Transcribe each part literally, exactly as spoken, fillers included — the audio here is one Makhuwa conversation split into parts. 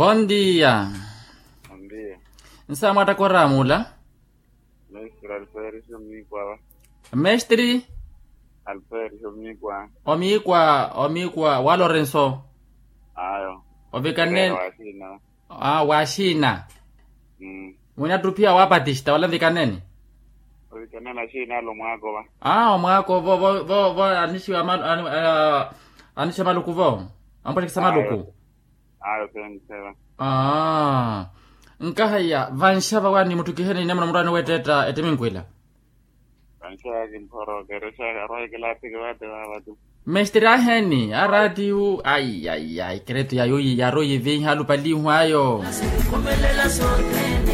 Bondia. Bondia. Nsaamwatta koramula. Mestre alferisio mikwa. Mestre. Alferisio mikwa. Omikwa omikwa wa lorenso. Ayo. Ovikanene. Waxina. Aa waxina. Mwinattu pia wa patista wala nvikanene. Ovikanene axina alo mwaakova. Aa omwaakova vo vo vo vo anixiwa maluku vo. Ampwaxikisa maluku. Ayo senseva. Aa. Nkahaiya vanxava wani muttukiheni ine muno muraani wetteetta ettiminkwila. Vanxava kimphoro kerexaka arwaikela atiki vate vavatu. Mestre aheni araatiyu ai ai ai keretu yayo yaroyiviha alupalihu ayo.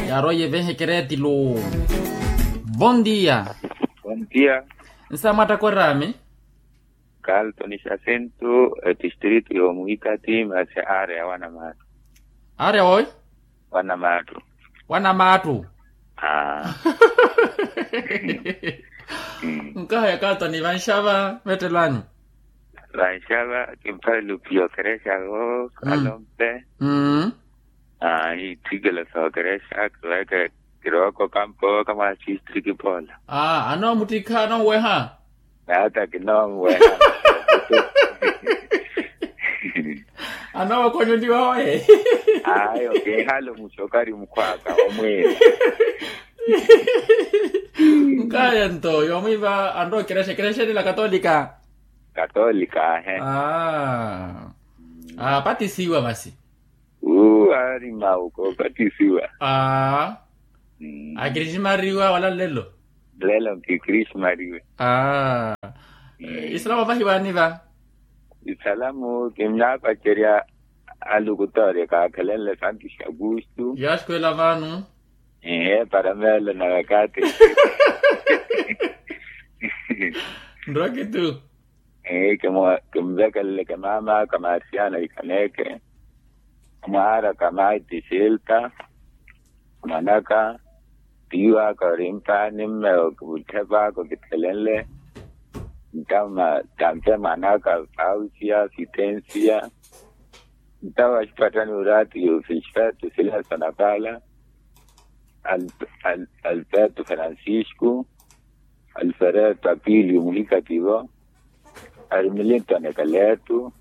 Yaroyiviha ekeretu lu. Bondia. Bondia. Nsamwatta koraami. Kalto ni xasintu etistritu yomuhikati masi areya wanamaattu. Areya woyi. Wanamaattu. Wanamaattu. Nkahaya kalto ni vanxava vettelwani. Vanxava kimphalupiyo kerexako kalompe. Aa itthikelo sookerexa kirooko kampo kamwaxixi kipoola. Aa anoomuttikha anoomuweha. Naata kinoomuweha. Anookhonyoliwa oye. Ayo kehale omuxokari mukhwaka omwiira. Nkaya nto yomwiiva anrookerexa ekerexa enila katolika. Katolika ahe. Aa patisiwa masi. Uu ari mauko patisiwa. Aa akirisimariwa wala nlelo. Nlelo nkikirisimariwe. Aa isalamu vahi waaniva. Isalamu kinnaapacerya alukutoorya kaakhalenle santu xakustu. Yaaxukhwela vaanu. Ehe para meelo na wakati. Nrokitu. Kinvekeleleke maamaaka marsiana ikhaneke. Mwaaraka maiti silta. Mwanaka. Tiiwaka orimpaani mmewo kiwutthepaka okitthelenle. Ntampe mwanaka fausia fitensia. Ntawo axipatthani oraatiyo fixfeto sileso na paala. Alberto francisco. Alfereto apiliyo muhikativo. Ari milintoni ekaletu.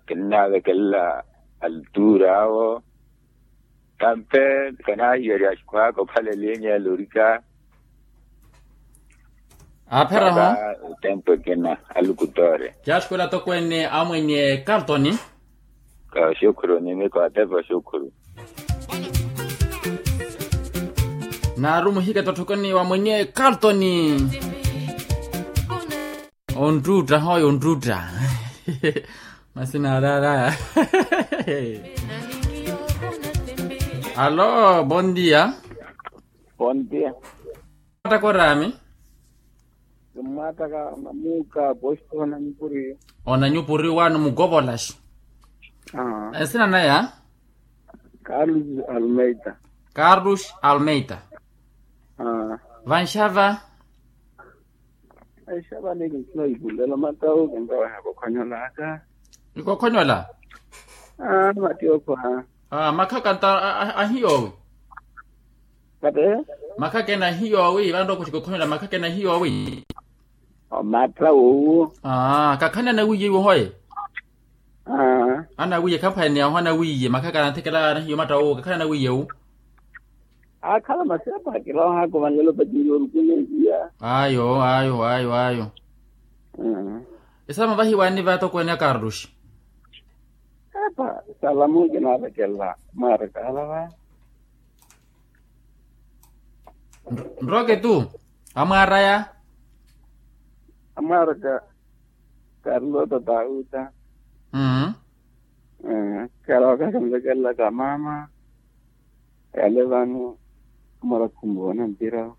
Kinnaavekelela altura awo. Tampe kanahiyerya axukhwaka ophala elinya elorika. Aapheraho. Tempo ekina alukutore. Kyaxukhwela tokweene amwenye kaltoni. Kaxukhuru nimiko atepa xukhuru. Naaru muhika tothokoni wa mwenye kaltoni. Onttuutta hoyo onttuutta. Masina arara. Alo bondia. Bondia. Mwattaka oraami. Mwattaka namuuka posto onanyupuri. Onanyupuri wano mukovolaxi. Nsina naya. Carlos almeida. Carlos almeida. Vanxava. Vanxava ni kinsina ikulelo matawu kintaweha kokhonyolaka. Ikokhonyola. Matiyo khwa. Makhaka nta ahiyowi. Makhaka ena ahiyowi vanrokoxi kokhonyola makhaka ena ahiyowi. Omatta wowo. Kakhani anawiye iwo hoye. Anawiye khamphaneya oho anawiye makhaka anatthekela anahiya omatta wowo kakhani anawiye wu. Akhala masepa akila ohaakuvanlela opatini orukuneeliya. Ayo ayo ayo ayo. Esama vahi waani vaatokweene a carlos. Epa salamu kinaavekelela mwaaraka alava. Nroke tu amwaaraya. Amwaaraka. Carlota tauta. Kala wakakamvekelelaka mama. Yale vano amwarakhu mmoona mpira.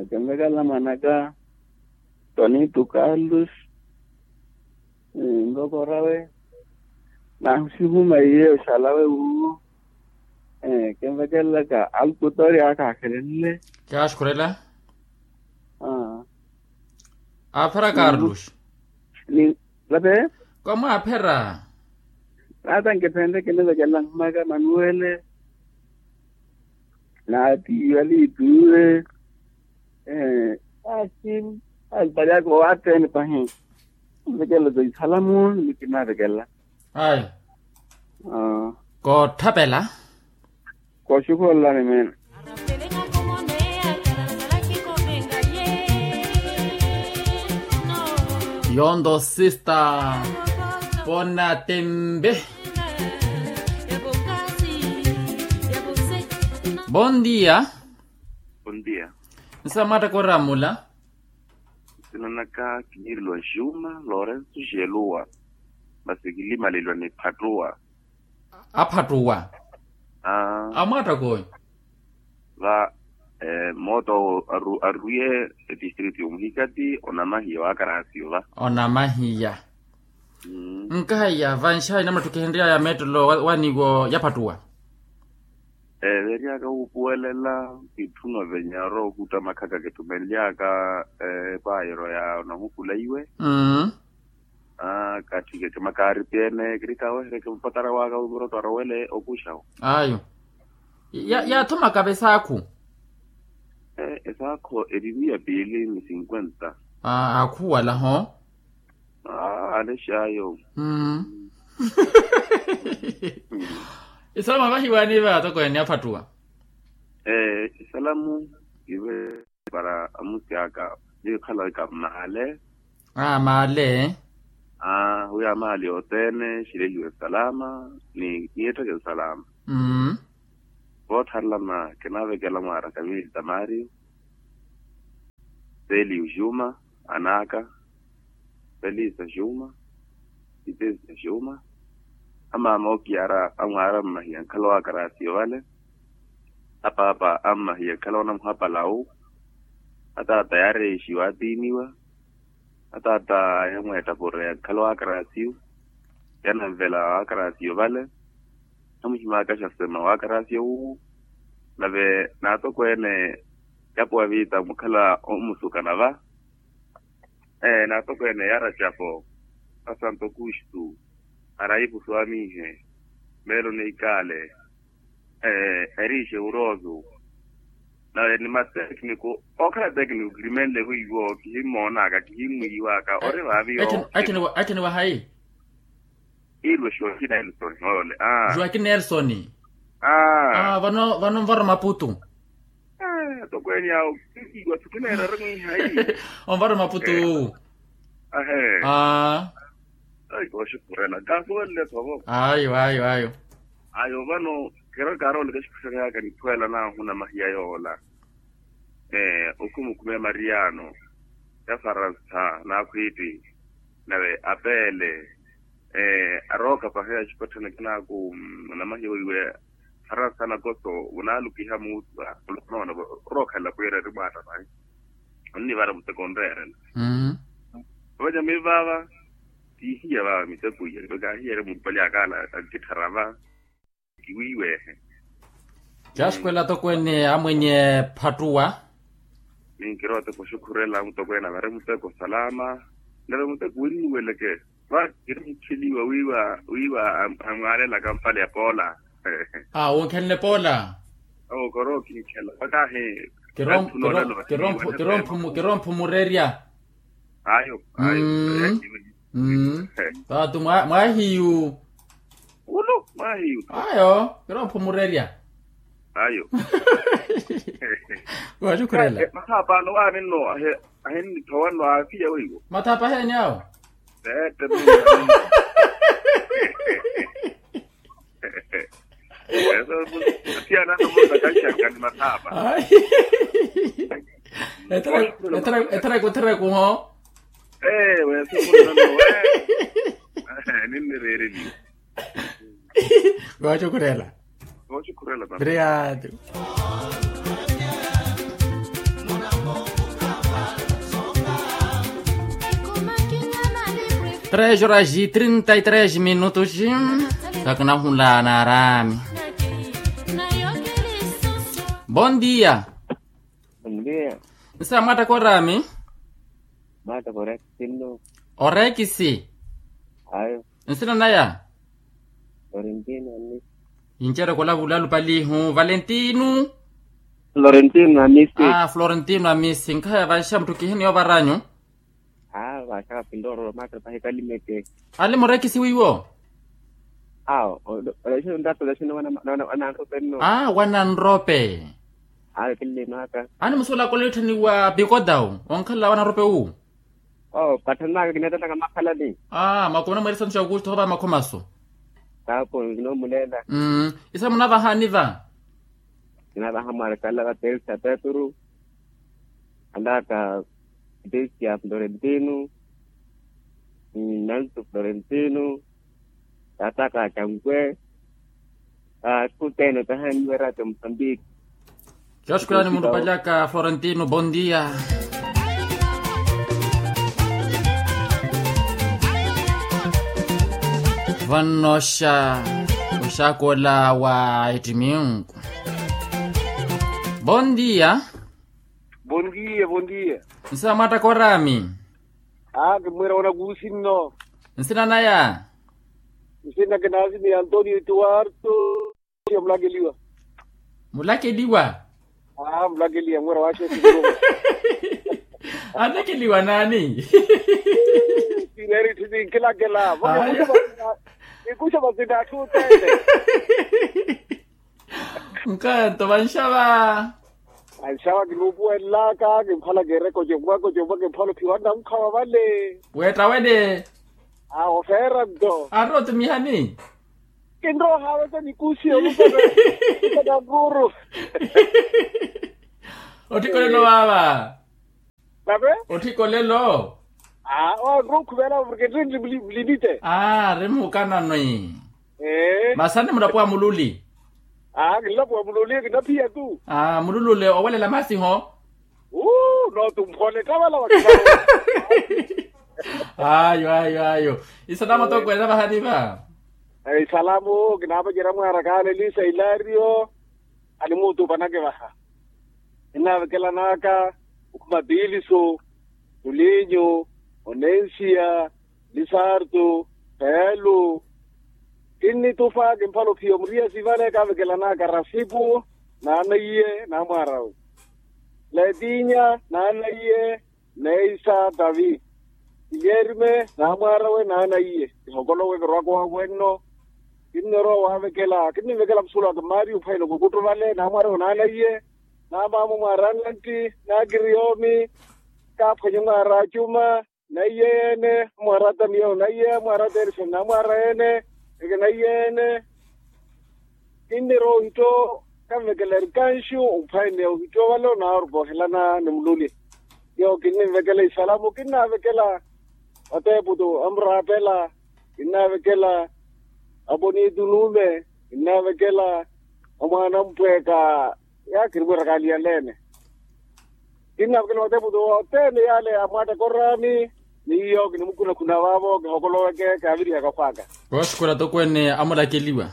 Kamvekelela mwanaka tonitu carlos. Nloko orawe. Nahu sihuma iye oxalawe wuwo. Kenvekelelaka alukutori aka akhelenle. Kyaxukhurela. Aaphera carlos. Ni lape. Komwaaphera. Naata nkiphenle kinivekela nhumaka manuwele, naatiiwa liituwe. Aasi azipalyaka owaatteni pahi. Nivekela to isalamu nikinavekela. Ayo. Koothapela. Kooxukhulolani meena. Yonto sista. Pona tembe. Bon dia. Bon dia. Nsa mwattaka oramula. Nsinanaka kiniriliwa juma lorenso jeluwa. Masi kilimaleliwa ni phattuwa. Aphattuwa. Amwattak'oyo. Va moota owo arwiye etistritu yomuhikati onamahiya wakarasiyo va. Onamahiya. Nkahaiya vanxayi namuttukihenryaya mettelo waniwo yaphattuwa. Veeryaka wuupuwelela kitthuna venya orowa okuutta makhaka kitthumelyaka. Epayiro ya onahukula iwe. Katthike kimakaari pyene kirikawehereke mupatara waka wimurotto arowele okuxawo. Ayo. Yaathumaka vesaakhu. Esaakho eri miya piili ni sinkwenta. Akhuwala ho. Alexa ayo. Isalamu avahiwani va atokweene aphattuwa. Isalamu ive para amusi aka nikhala wika maale. Maale. Wi amaale othene xilehiwe salama ni ettheke salama. Voothanlana kinavekela mwaara kamili tamario. Seliu juma, anaka, felisa juma, itesa juma. Amama okiyara amwaara mmahiya nkhala wakarasiyo vale. Apaapa ammahiya nkhala wanamuhapala wu. Ataata yaareexiwa atiiniwa. Ataata yamweetta porreya nkhala wakarasiyo. Yananvela wakarasiyo vale. Namuhimakaxa sema wakarasiyo wu. Nave naatokweene yapuwa viita mukhala omusukana va. Naatokweene yaracapo asanto kustu. Arayipusu amiihe. Meelo neikaale. Eriixe uroozu. Nave ni matekniko okhala tekniko kirimenle hu iwo kihimmoonaka kihimmwiiwaka ori vaavi. Attini wahayi? Iilwe joakin nelson ole. Joakin nelson. Vano vano nvaro maputu. Tokweeni awo kikiwa tukineerari mwihayi. Onvaro maputu. Ahe. Ai kooxukhurela kaasuwelele thovo. Ayo ayo ayo. Ayo vano kira kaarooleke exikuxaka yaka niphweela naahuna mahiya yoola. Okhumukhume mariyano ya faransa n'akhwiitti. Nave apeele arooka paheya axipatthana kinaaku. Onamahiya weiwe faransa nakoso vunaalukiha muutwa. Olonoona orookhalela pwiira eri mwaata pahi. Onnivara muteko onreerela. Ovanyami vaava tiihiya vaava miteko iya kaahiyeerya muupalyaaka ala akitthara va. Kiwiiweehe. Caasukwela atokweene amwenye phattuwa. Ninkirowa toko xukhurela mutokweene avare muteko salama. Nave muteko winnuweleke va kiri mukheliwa wiiwa wiiwa amwaalelaka mpale ya poola. Wunkhenle poola. Owo koro kinkhela vakahi. Kiromphu murerya. Ayo. Taatu mwahiyu. Ulo mwahiyu. Ayo kiromphu murerya. Ayo. Wachukhurela. Makhapano waninno ahinnithowanno afiya weiwo mathapa heni awo. Tete. Eso. Asiyanano musa kaxaka ni mathapa. Ethereko ethereko ho. Ewe. Ninnireereliwe. Kooxukhurela. Kooxukhurela. Obrigado. Três horas e trinta e três minutos. Kakinahula na arami. Bon dia. Bon dia. Nsa mwattaka orami. Mwattaka orekisi nno. Orekisi. Ayo. Nsina naya. Florentino amisi. Incereko olavula lupalihu valentino. Florentino amisi. Ah, florentino amisi nkhaye vanxa mutthu kihini yovaranyu. Ah, vanxa kapindooro matre pahikalimeke. Ali murekisi wiwo. Ah, olexino nrato olexino wananrope nno. Ah, wananrope. Ah, killino aka. Ani musuwela kolettani wa pikodau onkhalela wananrope wu. Oh, pathanaka kinathanaka makhalani. Ah, makumi namweeri santu xa aukusto hova makhomaso. Tapo kinomulela. Mm. Isa munavahani va? Kinavaha mwarikala va telsa petru, alaka, telsia florentino, nantu florentino, tataka cankwe. Kutene tahaniwe rate mosambiki. Xooxukulani muntupalyaka florentino bondia. Vannoxa oxakola wa ettiminku. Bondia. Bondia bondia. Nsi namwattaka orami? Aa kimwira wanakuusi nno. Nsina naya? Nsina kinaasi ni antonio etuwarto. Mulakeliwa. Mulakeliwa? Aa mulakeliwa mwira waxe. Anlakeliwa naani? Sineeri tthi ninkilakela. Ikuxa vasina atthu otene. Nkanto vanxava. Vanxava kinuupuwelelaka kimphala kiire kocomwa kocomwa kimphala ophiwa nnamukhawa vale. Weetta wene. Aa ofeera nto. Ari otumihani? Kinroha wesa nikusi olupaka. Nakuru. Ottikolelo waava. Nave? Ottikolelo. Aa onrokhuvela porke nri nri mlimite. Aa ri mukananwi. Ee masi ani mulapo wa mululi. Aa kinlapo wa mululi kinaphiya tu. Aa mululule owelela masi ho. Uu notumphole tavala wa. Ayo ayo ayo. Isalamo tokwelela vahani va. Isalamo kinaavacerya mwaara kaana elisa ilario. Animuutupanake vaha. Kinnaavekelanaka okhuma tiliso, tulinyu, onensiya, lisartu, pelu. Kinnitupa kimphala ophiya omuriya sivale kaavekelanaka rasipu, naanaiye naamwaarawe. Letinya naanaiye, neisa tavi. Kiyerime naamwaarawe naanaiye. Kihokolowe kirwaka owawe nno. Kinnirowa waavekela kinninvekela musuwelo waka mario phwaino kukuttuvale naamwaarawe naanaiye. Naamaamo mwaara anantti, nakiriyoomi, kaaphwanye mwaara acuma, naiye yeene, amwaara atamiyewo naiye amwaara ateerixeni namwaara yeene. Eke naiye yeene. Kinnirowa ohitto, kanvekela erikanxu ophwaneya ohitto wale onaarupa ohelana ni mululi. Yowo kinninvekela isalamu kinnavekela, ateeputu amuraapela, kinnavekela, aponitu nuume, kinnavekela, amwaana ampweeka. Yaakiri mwirakaliya leene. Kinnavekela ateeputu othene yale amwaattaka oraami. Ni iyo kinimukunakhuna vaavo kihokoloweke kaavirihaka okhwaka. Kooxukhula tokweene amulakeliwa.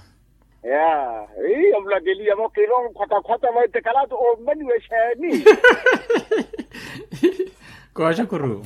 Ya, ii amulakeliwa vakirowa khwatakhwata vaittekalato ommaniwa exeeni. Kooxukhulu.